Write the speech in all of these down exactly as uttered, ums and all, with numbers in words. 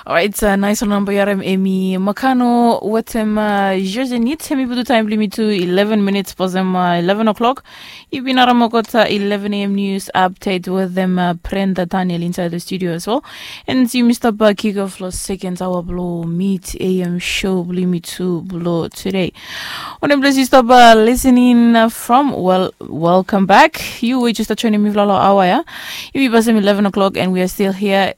Orait, nais ol namba yu harim emi Makano wetem Josenit. Emi putum taem blong yumi tu eleven minits pasem eleven o'clock. Yu bin harim olgeta eleven a.m. news update wetem Brenda Daniel insaed long studio as well. And yumi stap kick off long second hour blong mid a.m. show blong yumi tu blong today. Wanem ples yu stap listening from? Well, welcome back. Yu we jes stap joinim mifala long aoa ya. Yumi pasem eleven o'clock and we are still here.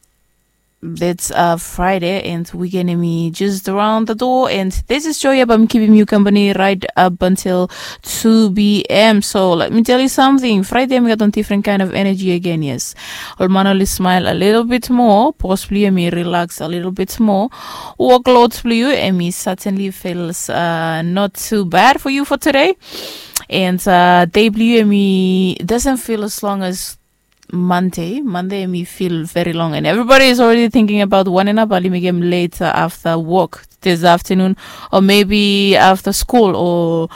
It's Friday and weekend emi just around the door, and this is Joya, bae mi kipim yu kampani right up until two p.m. So let me tell you something, Friday emi gat wan different kind of energy again. Yes, ol man oli smile a little bit more, bos blong yu emi relax a little bit more, workload blong yu emi certainly feels uh, not too bad for you for today. And uh, day blong yu emi doesn't feel as long as Monday. Monday emi feel very long, and everybody is already thinking about wanem nao bae oli mekem later after work this afternoon, or maybe after school, or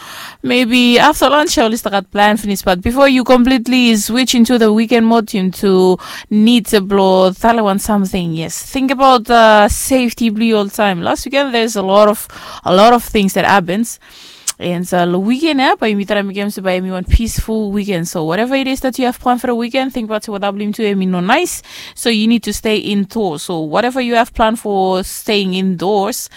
maybe after lunch oli stap gat plan finis. But before you completely switch into the weekend mode, yu tu nid blong talem wan samting. Yes, think about uh, safety blong yu oltaem. Last weekend there's a lot of a lot of things that happens. And uh, long weekend ya bae yumi traem mekem se bae emi wan peaceful weekend. So whatever it is that you have planned for the weekend, think about se weta blong yumi tu emi no nais. So you need to stay indoors. So whatever you have planned for staying indoors,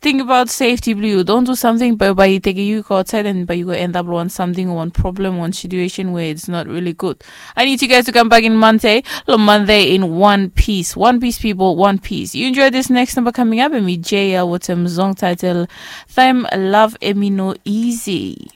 think about safety blong yu. Don't do something bae bae i tekem yu go outside and bae yu go end up long wan samting o wan problem, wan situation where it's not really good. I need you guys to come back in Monday. Long Monday in one piece. One piece, people, one piece. You enjoy this next number coming up, emi Jaya wetem song title Time Love Emi No Easy.